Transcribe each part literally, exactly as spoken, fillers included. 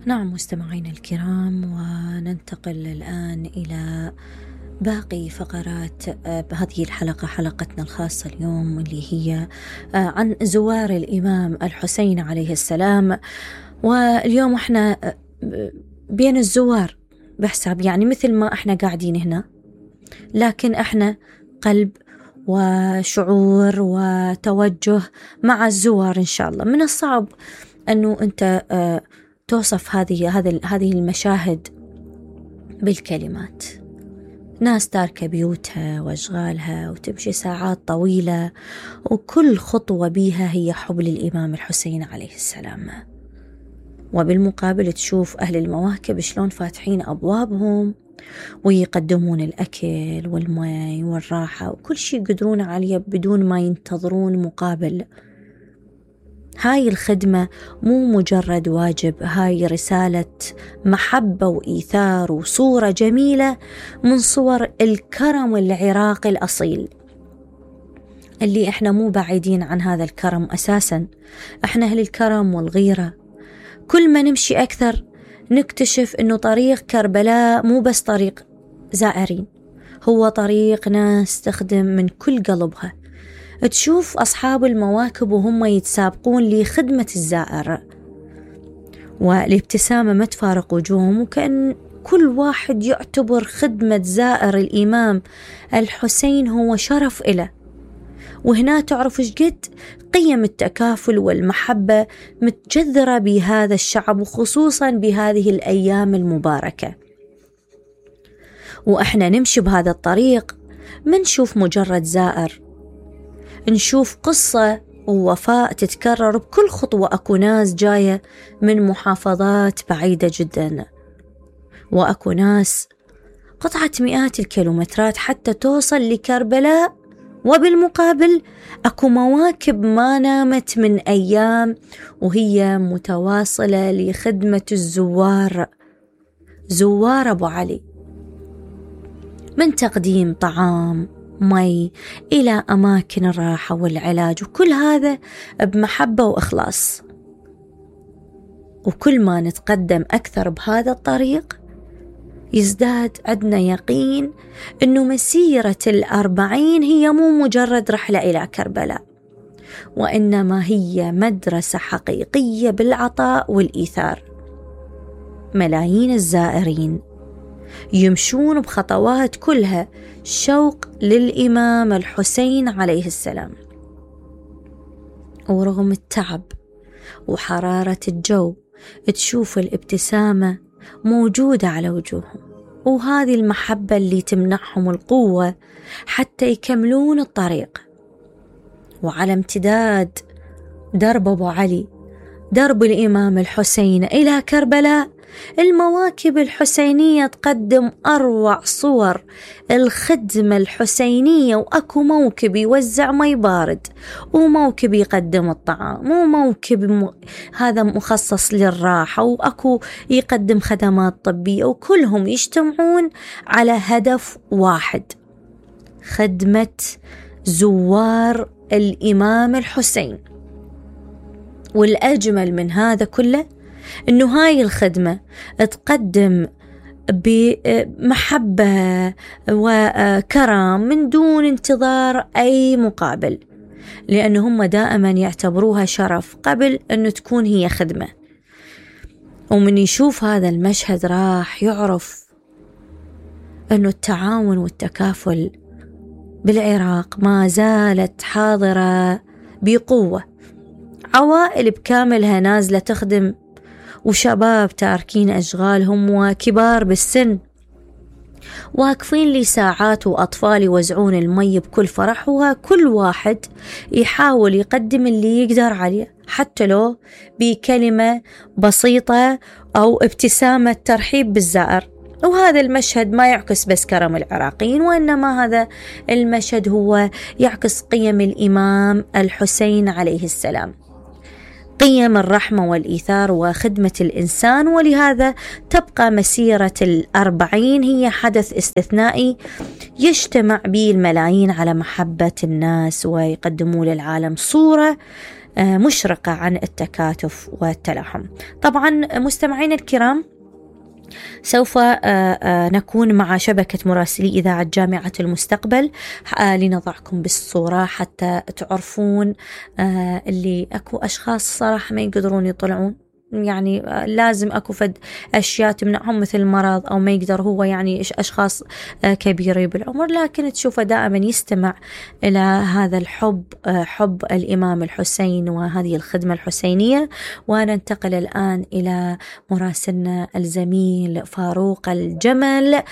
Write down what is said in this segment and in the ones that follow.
نعم مستمعينا الكرام، وننتقل الآن إلى باقي فقرات بهذه الحلقة، حلقتنا الخاصة اليوم اللي هي عن زوار الإمام الحسين عليه السلام. واليوم احنا بين الزوار بحساب يعني مثل ما احنا قاعدين هنا، لكن احنا قلب وشعور وتوجه مع الزوار إن شاء الله. من الصعب أنه أنت توصف هذه هذه هذه المشاهد بالكلمات. ناس تاركة بيوتها وأشغالها وتمشي ساعات طويلة، وكل خطوة بيها هي حب للإمام الحسين عليه السلام. وبالمقابل تشوف أهل المواكب شلون فاتحين أبوابهم ويقدمون الأكل والماء والراحة وكل شيء يقدرون عليه بدون ما ينتظرون مقابل. هاي الخدمة مو مجرد واجب، هاي رسالة محبة وإيثار وصورة جميلة من صور الكرم العراقي الأصيل، اللي احنا مو بعيدين عن هذا الكرم أساسا. احنا أهل الكرم والغيرة. كل ما نمشي أكثر نكتشف أنه طريق كربلاء مو بس طريق زائرين، هو طريق ناس تخدم من كل قلبها. تشوف أصحاب المواكب وهم يتسابقون لخدمة الزائر، والابتسامة ما تفارق وجوههم، وكأن كل واحد يعتبر خدمة زائر الإمام الحسين هو شرف إله. وهنا تعرف ايش قد قيم التكافل والمحبة متجذرة بهذا الشعب، وخصوصا بهذه الأيام المباركة. وإحنا نمشي بهذا الطريق ما نشوف مجرد زائر، نشوف قصة ووفاء تتكرر بكل خطوة. أكو ناس جاية من محافظات بعيدة جدا، وأكو ناس قطعت مئات الكيلومترات حتى توصل لكربلاء. وبالمقابل أكو مواكب ما نامت من أيام وهي متواصلة لخدمة الزوار، زوار أبو علي، من تقديم طعام مي إلى أماكن الراحة والعلاج، وكل هذا بمحبة وإخلاص. وكل ما نتقدم أكثر بهذا الطريق يزداد عندنا يقين أنه مسيرة الأربعين هي مو مجرد رحلة إلى كربلاء، وإنما هي مدرسة حقيقية بالعطاء والإيثار. ملايين الزائرين يمشون بخطوات كلها شوق للإمام الحسين عليه السلام، ورغم التعب وحرارة الجو تشوف الابتسامة موجودة على وجوههم، وهذه المحبة اللي تمنحهم القوة حتى يكملون الطريق. وعلى امتداد درب أبو علي، درب الإمام الحسين إلى كربلاء، المواكب الحسينية تقدم أروع صور الخدمة الحسينية. وأكو موكب يوزع مي بارد، وموكب يقدم الطعام، وموكب م... هذا مخصص للراحة، وأكو يقدم خدمات طبية، وكلهم يجتمعون على هدف واحد: خدمة زوار الإمام الحسين. والأجمل من هذا كله إنه هاي الخدمة تقدم بمحبة وكرم من دون انتظار أي مقابل، لأنه هم دائما يعتبروها شرف قبل أنه تكون هي خدمة. ومن يشوف هذا المشهد راح يعرف أنه التعاون والتكافل بالعراق ما زالت حاضرة بقوة. عوائل بكاملها نازلة تخدم، وشباب تاركين أشغالهم، وكبار بالسن واقفين لي ساعات، وأطفال يوزعون المي بكل فرح، وكل واحد يحاول يقدم اللي يقدر عليه، حتى لو بكلمة بسيطة أو ابتسامة ترحيب بالزائر. وهذا المشهد ما يعكس بس كرم العراقيين، وإنما هذا المشهد هو يعكس قيم الإمام الحسين عليه السلام، قيم الرحمة والإيثار وخدمة الإنسان. ولهذا تبقى مسيرة الأربعين هي حدث استثنائي يجتمع به الملايين على محبة الناس، ويقدموا للعالم صورة مشرقة عن التكاتف والتلاحم. طبعا مستمعين الكرام، سوف نكون مع شبكة مراسلي إذاعة جامعة المستقبل لنضعكم بالصورة حتى تعرفون اللي أكو أشخاص صراحة ما يقدرون يطلعون، يعني لازم أكو فد أشياء تمنعهم مثل المرض أو ما يقدر هو، يعني أشخاص كبيرة بالعمر، لكن تشوفه دائما يستمع إلى هذا الحب، حب الإمام الحسين وهذه الخدمة الحسينية. وننتقل الآن إلى مراسلنا الزميل فاروق الجمل.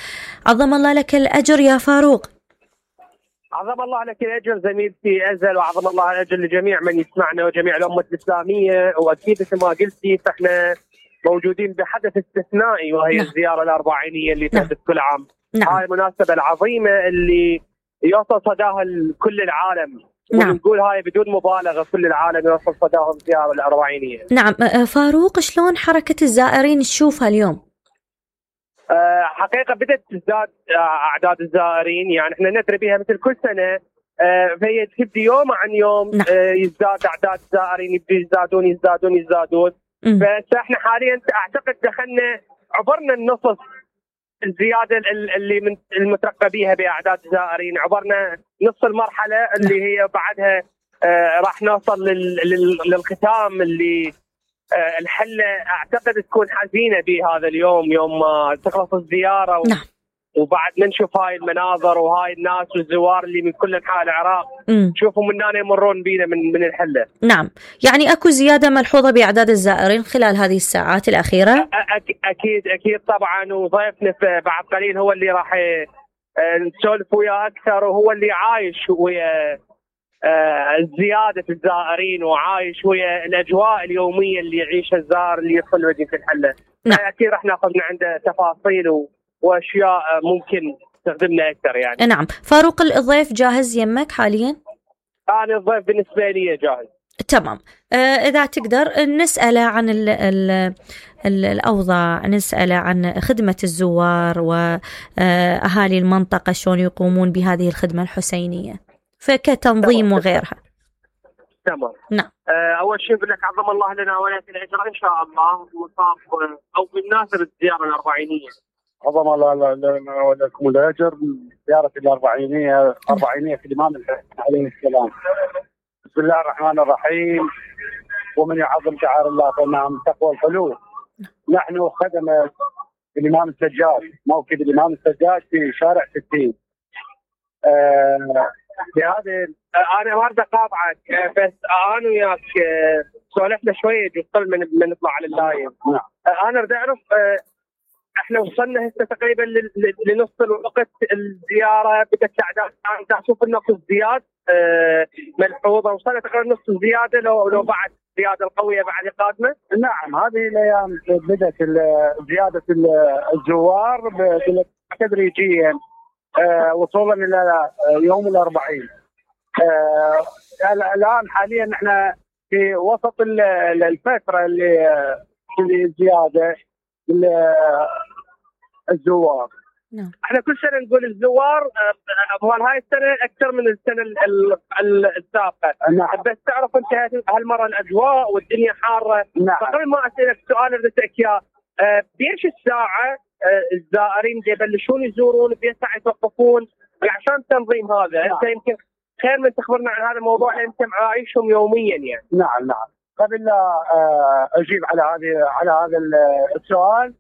عظم الله لك الأجر يا فاروق. عظم الله لك الأجر زميلتي أزل، وعظم الله الأجر لجميع من يسمعنا وجميع الأمة الإسلامية. وأكيد مثل ما قلتي فإحنا موجودين بحدث استثنائي، وهي نعم. الزيارة الأربعينية اللي تحدث نعم. كل عام. نعم. هاي المناسبة العظيمة اللي يوصل صداها لكل العالم. نعم. ونقول هاي بدون مبالغة، كل العالم يوصل صداهم الزيارة الأربعينية. نعم. فاروق، شلون حركة الزائرين تشوفها اليوم؟ حقيقة بدأت تزداد أعداد الزائرين، يعني احنا ندري بها مثل كل سنة، فهي تبدي يوم عن يوم. نعم. يزداد أعداد الزائرين، يبدي يزدادون يزدادون يزدادون. بس احنا حاليا أعتقد دخلنا عبرنا النصف الزيادة اللي من المترقبة بها بأعداد الزائرين، عبرنا نصف المرحلة اللي نعم. هي بعدها راح نوصل للختام اللي الحلة أعتقد تكون حزينة بهذا اليوم، يوم ما تخلص الزيارة و... نعم. وبعد ما نشوف هاي المناظر وهاي الناس والزوار اللي من كل أنحاء العراق نشوفهم من هنا يمرون بينا من من الحلة. نعم، يعني أكو زيادة ملحوظة بأعداد الزائرين خلال هذه الساعات الأخيرة؟ أك... أكيد أكيد طبعا، وضيفنا بعد قليل هو اللي راح نسولف وياه أكثر، وهو اللي عايش ويا آه زيادة الزائرين وعايش ويا الأجواء اليومية اللي يعيشها الزائر اللي يدخل مدينة الحلة. نعم. أكيد راح ناخذ من عنده تفاصيل و... وأشياء ممكن تخدمنا أكثر يعني. نعم. فاروق، الضيف جاهز يمك حاليا؟ أنا الضيف بالنسبة لي جاهز. تمام. آه إذا تقدر نسأله عن ال ال ال الأوضاع، نسأله عن خدمة الزوار وأهالي المنطقة شلون يقومون بهذه الخدمة الحسينية فكتنظيم وغيرها. تمام. نعم. أول شيء بقول لك عظم الله لنا ولك الأجر إن شاء الله، مصاب أو بالمناسبة الزيارة الأربعينية. عظم الله لنا ولكم الأجر زيارة الأربعينية أربعينية في الإمام الحسين عليه السلام. بسم الله الرحمن الرحيم. ومن يعظم شعائر الله فإنها من تقوى القلوب. نحن خدمة الإمام السجاد، موكب الإمام السجاد في شارع ستين. آه بهذه انا ما اريد اقاطعك، بس انا وياك سولفنا شويه قبل من نطلع على اللايف. نعم. انا اريد اعرف، احنا وصلنا هسه تقريبا لنص الوقت الزياره، بدات الاعداد انت تشوف انه اكو ازدياد ملحوظه، وصلنا تقريبا نص الزياده لو لو بعد الزياده القويه بعد قادمه. نعم، هذه الايام بدات زياده الزوار تدريجيا وصولا الى يوم الأربعين. آه الآن حاليا نحن في وسط الفترة اللي اللي زيادة الزوار. نعم. احنا كل سنة نقول الزوار مال هاي السنة أكثر من السنة السابقة. نعم. بس تعرف أنت هالمرة الأجواء والدنيا حارة. نعم. فقبل ما أسألك سؤال أريد إياه، بإيش الساعة الزائرين يبلشون يزورون، بأي ساعة يتوقفون عشان تنظيم هذا؟ نعم. أنت يمكن خير من تخبرنا عن هذا الموضوع، أنت عايشهم يوميا يعني. نعم نعم. قبل لا أجيب على هذه على هذا السؤال،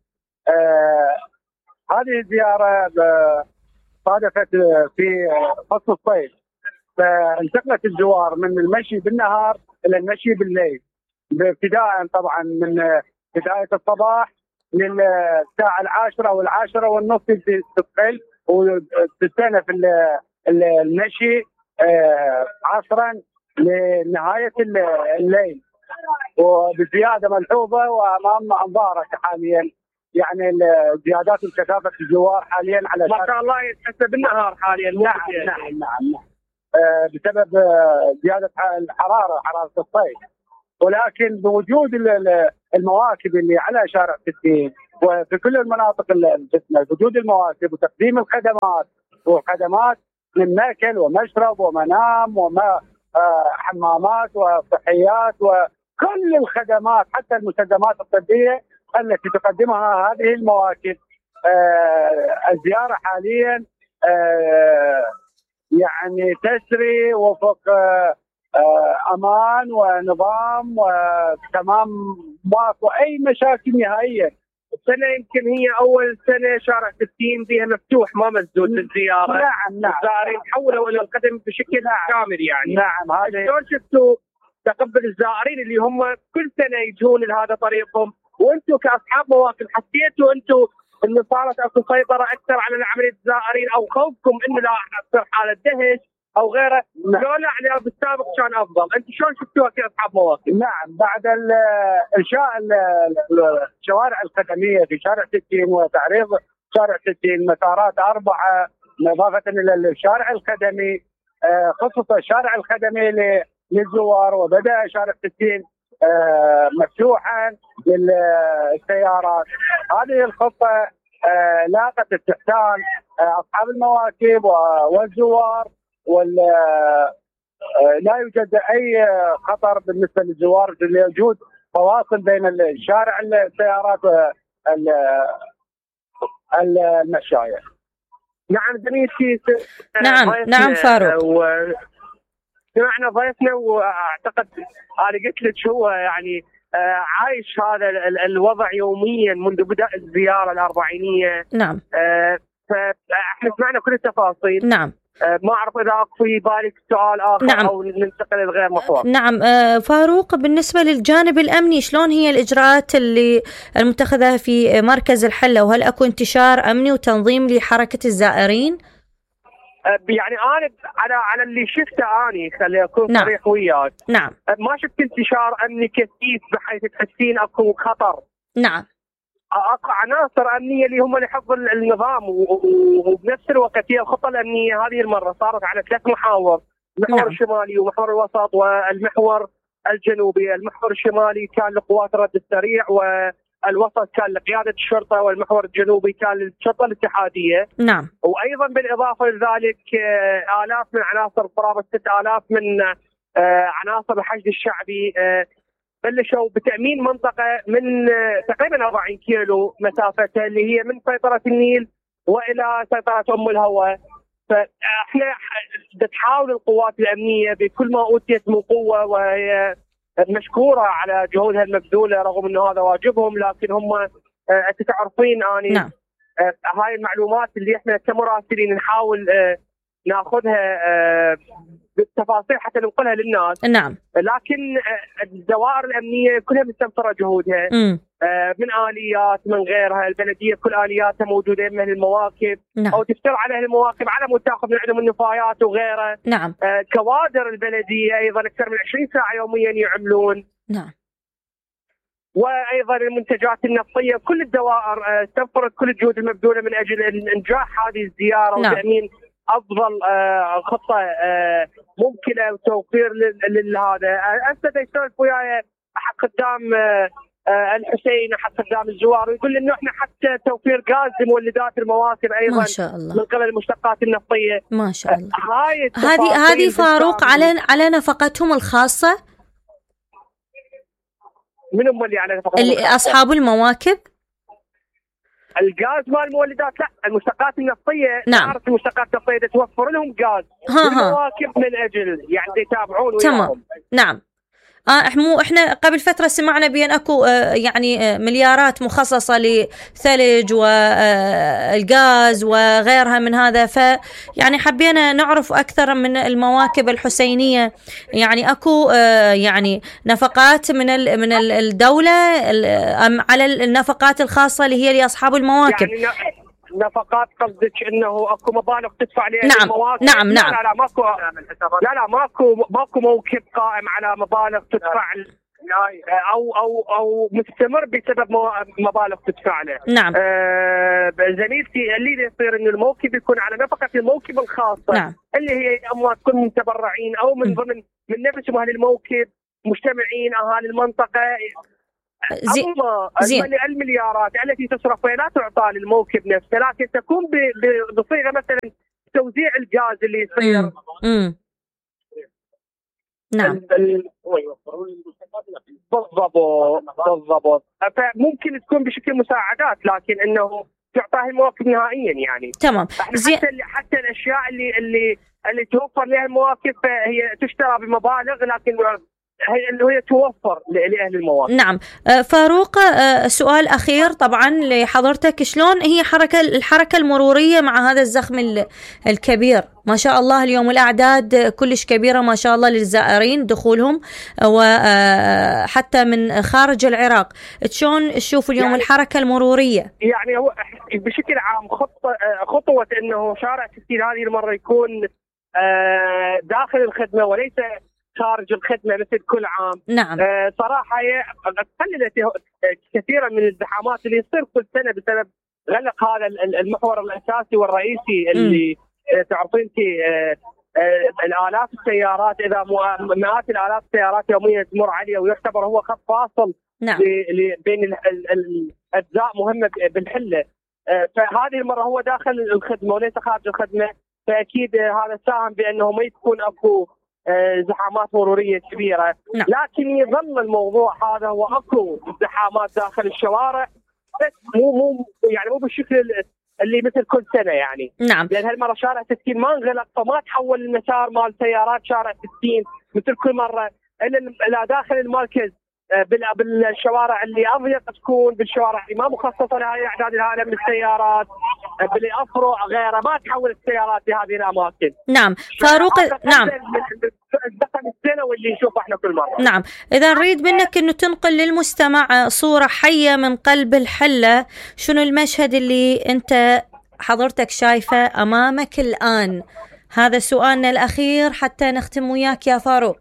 هذه الزيارة صادفت في فصل الصيف، فانتقلت الزوار من المشي بالنهار إلى المشي بالليل، ابتداء طبعا من بداية الصباح للساعة العاشرة أو العاشرة والنصف تقل، وتستأنف المشي عصرا لنهاية الليل، وبزيادة ملحوظة وأمام أنظارك حاليا، يعني زيادات الكثافة الزوار حاليا على ما شاء الله يتحسب بالنهار حاليا. نعم نعم نعم, نعم. بسبب زيادة الحرارة حرارة الصيف، ولكن بوجود المواكب اللي على شارع ستين وفي كل المناطق الفتنة، وجود المواكب وتقديم الخدمات وخدمات من ماكل ومشرب ومنام وما حمامات وصحيات وكل الخدمات حتى المستلزمات الطبية التي تقدمها هذه المواكب. الزيارة حاليا يعني تسري وفق امان ونظام وتمام ماكو اي مشاكل نهائيا. السنه يمكن هي اول سنه شارع ستين فيها مفتوح ما مسدود للزياره. نعم نعم. الزائرين تحولوا الى القدم بشكل نعم. كامل يعني. نعم. هذا شلون شفتوا تقبل الزائرين اللي هم كل سنه يجون لهذا طريقهم، وانتم كاصحاب مواقف حسيتوا انتم انه صارت اكو سيطره اكثر على عمليه الزائرين او خوفكم انه لا تصير حاله دهش او غيره؟ نعم. لا يعني بالسابق كان افضل، انت شلون شفتوها كاصحاب مواقف؟ نعم. بعد انشاء الشوارع الخدميه في شارع ستين وتعريض شارع ستين مسارات اربعه اضافه الى الشارع الخدمي، خصوصا الشارع الخدمي للزوار، وبدا شارع ستين مفتوحا للسيارات. هذه الخطه لاقت استحسان اصحاب المواكب والزوار، ولا لا يوجد اي خطر بالنسبه للزوار لوجود فواصل بين الشارع السيارات والمشاية. نعم زميلتي. نعم نعم فاروق. سمعنا ضيفنا واعتقد انا قلت لك هو يعني عايش هذا الوضع يوميا منذ بدء الزياره الاربعينيه. نعم. فاحنا سمعنا كل التفاصيل. نعم. ما أعرف إذا أكو في بالك سؤال آخر. نعم. أو ننتقل لغير محور. نعم فاروق، بالنسبة للجانب الأمني شلون هي الإجراءات اللي المتخذة في مركز الحلة، وهل أكو انتشار أمني وتنظيم لحركة الزائرين؟ يعني أنا على على اللي شفته أني خلي أكون نعم. صريح وياك. نعم. ما شفت انتشار أمني كثيف بحيث تحسين أكو خطر. نعم. اكو عناصر امنيه اللي هم لحفظ النظام، وبنفس الوقت هي الخطه الامنيه هذه المره صارت على ثلاث محاور، المحور نعم. الشمالي ومحور الوسط والمحور الجنوبي. المحور الشمالي كان لقوات الرد السريع، والوسط كان لقياده الشرطه، والمحور الجنوبي كان للشرطه الاتحاديه. نعم. وايضا بالاضافه لذلك الاف من عناصر قرابه ستة آلاف من عناصر الحشد الشعبي بلشوا بتأمين منطقة من تقريبا أربعين كيلو مسافتها، اللي هي من سيطرة النيل وإلى سيطرة أم الهوى. فإحنا تحاول القوات الأمنية بكل ما أوتيت من قوة، وهي مشكورة على جهودها المبذولة رغم أنه هذا واجبهم، لكن هم أنت تعرفين أني نعم. هاي المعلومات اللي إحنا كمراسلين نحاول ناخذها بالتفاصيل حتى ننقلها للناس. نعم. لكن الدوائر الامنيه كلها مستمره جهودها م. من اليات من غيرها. البلديه كل الياتها موجوده من المواكب. نعم. او تفتر على المواكب على مود تاخذ من عندهم النفايات وغيرها. نعم. كوادر البلديه ايضا اكثر من عشرين ساعه يوميا يعملون. نعم. وايضا المنتجات النفطيه، كل الدوائر استنفرت كل الجهود المبذوله من اجل انجاح هذه الزياره. نعم. وتامين افضل آه خطه آه ممكنه وتوفير لهذا. هسه يسولف وياي احد خدام آه آه الحسين، احد خدام الزوار، ويقول انه احنا حتى توفير غاز لمولدات المواكب ايضا ما شاء الله من قبل المشتقات النفطيه. ما شاء الله. هاي هذه هذه فاروق على على نفقتهم الخاصه. من هم اللي على نفقتهم اللي اصحاب المواكب؟ الغاز مال المولدات لا، المشتقات النفطيه. نعم. تعرف المشتقات النفطيه توفر لهم غاز المواكب من اجل يعني يتابعون وياهم. نعم. اه احنا احنا قبل فتره سمعنا بان اكو آه يعني آه مليارات مخصصه لثلج والغاز وغيرها من هذا، ف يعني حبينا نعرف اكثر من المواكب الحسينيه. يعني اكو آه يعني نفقات من من الدوله ام على النفقات الخاصه اللي هي لاصحاب المواكب؟ يعني نفقات قصدك انه اكو مبالغ تدفع لها نعم. المواكب؟ نعم نعم. لا لا ماكو لا لا ماكو ماكو موكب قائم على مبالغ تدفع او او او مستمر بسبب مبالغ تدفع له. نعم. آه زميلتي اللي يصير انه الموكب يكون على نفقه الموكب الخاصه. نعم. اللي هي اموال تكون من متبرعين او من ضمن من نفسهم اهل الموكب، مجتمعين اهالي المنطقه. زي... أما المليارات التي تصرف لا تعطى للموكب نفسه، لكن تكون بصيغه مثلا توزيع الغاز اللي يصير. امم نعم. بالضبط بالضبط. فممكن تكون بشكل مساعدات، لكن انه تعطى المواكب نهائيا يعني. تمام. زي... حتى حتى الاشياء اللي اللي اللي توفر لها المواكب هي تشترى بمبالغ، لكن هي اللي هي توفر لأهل المواقف. نعم. فاروق، سؤال أخير طبعا لحضرتك، شلون هي حركة الحركة المرورية مع هذا الزخم الكبير؟ ما شاء الله اليوم الأعداد كلش كبيرة ما شاء الله للزائرين دخولهم، وحتى من خارج العراق. شلون تشوف اليوم يعني الحركة المرورية؟ يعني هو بشكل عام خطة خطوة أنه شارع ستين هذه المرة يكون داخل الخدمة وليس خارج الخدمة مثل كل عام. نعم. آه صراحة هي قللت كثيرا من الزحامات اللي يصير كل سنة بسبب غلق هذا المحور الأساسي والرئيسي اللي آه تعرفين انت آه آه الآلاف السيارات، إذا مئات الآلاف السيارات يوميا تمر عليه، ويعتبر هو خط فاصل. نعم. بين الأجزاء مهمة بالحلة. آه فهذه المرة هو داخل الخدمة وليس خارج الخدمة، فأكيد هذا ساهم بأنه ما يكون أكو زحامات مرورية كبيرة. نعم. لكن يظل الموضوع هذا هو اكو زحامات داخل الشوارع، بس مو مو يعني مو بالشكل اللي مثل كل سنة يعني. نعم. لأن هالمرة شارع ستين ما انغلق، فما تحول المسار مال سيارات شارع ستين مثل كل مرة إلى إلى داخل المركز بالشوارع اللي أضيق تكون، بالشوارع اللي ما مخصصة لهذه الأعداد الهائلة من السيارات، بالأفرع غيره، ما تحول السيارات لهذه الأماكن. نعم. فاروق، نعم. الزخم السنوي اللي نشوفه احنا كل مرة. نعم. إذا نريد منك إنه تنقل للمستمع صورة حية من قلب الحلة، شنو المشهد اللي أنت حضرتك شايفه أمامك الآن؟ هذا سؤالنا الأخير حتى نختم وياك يا فاروق.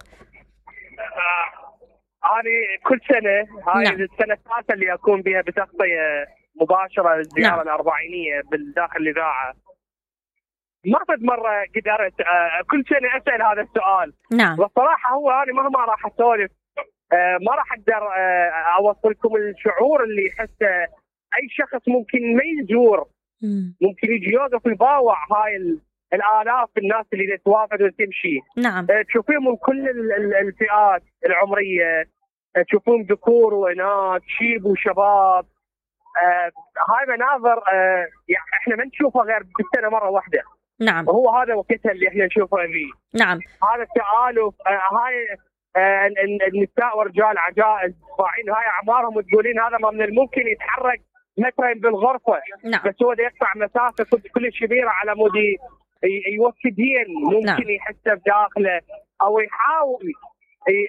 هذه كل سنة، هاي نعم. السنة الثالثة اللي أكون بها بتغطية مباشرة للزيارة نعم. الأربعينية بالداخل الإذاعة. ما قد مرة قدرت آه كل سنة أسأل هذا السؤال. نعم. والصراحة هو أنا مهما راح أسولف آه ما راح أقدر آه أوصلكم الشعور اللي يحسه أي شخص ممكن ما يزور، ممكن يجي يوقف ويباوع هاي الآلاف الناس اللي تتوافد وتمشي. نعم. آه تشوفين من كل الفئات العمرية، آه تشوفون ذكور وإناث، شيب وشباب. آه هاي مناظر آه يعني احنا ما نشوفها غير بالسنة مرة واحدة. نعم. وهو هذا وقتها اللي احنا نشوفه فيه. نعم. هذا التآلف، آه هاي آه النساء ورجال عجائز فاعلين هاي اعمارهم، وتقولين هذا ما من الممكن يتحرك مثلا بالغرفة. نعم. بس هو ده يقطع مسافة كل كبيرة على مود يوصل دين ممكن. نعم. يحسه بداخله او يحاول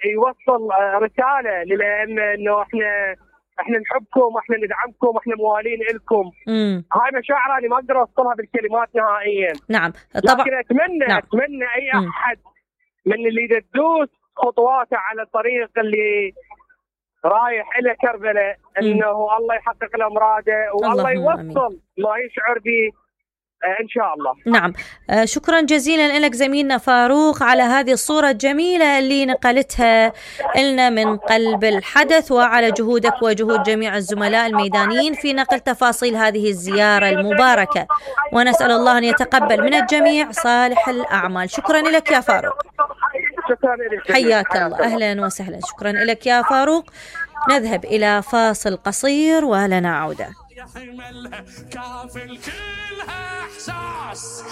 يوصل آه رسالة للأئمة انه احنا احنا نحبكم، احنا ندعمكم، احنا موالين لكم. هاي مشاعر انا ما اقدر اوصلها بالكلمات نهائيا. نعم طبعا. لكن اتمنى نعم. اتمنى اي احد مم. من اللي تدوس خطواته على الطريق اللي رايح الى كربلاء انه الله يحقق له مراده والله يوصل ما يشعر به إن شاء الله. نعم. شكرا جزيلا لك زميلنا فاروق على هذه الصورة الجميلة اللي نقلتها لنا من قلب الحدث، وعلى جهودك وجهود جميع الزملاء الميدانيين في نقل تفاصيل هذه الزيارة المباركة، ونسأل الله أن يتقبل من الجميع صالح الأعمال. شكرا لك يا فاروق. شكرا لك. حياك الله. أهلا وسهلا. شكرا لك يا فاروق. نذهب إلى فاصل قصير ولنا عودة. يحملها كافل كلها احساس.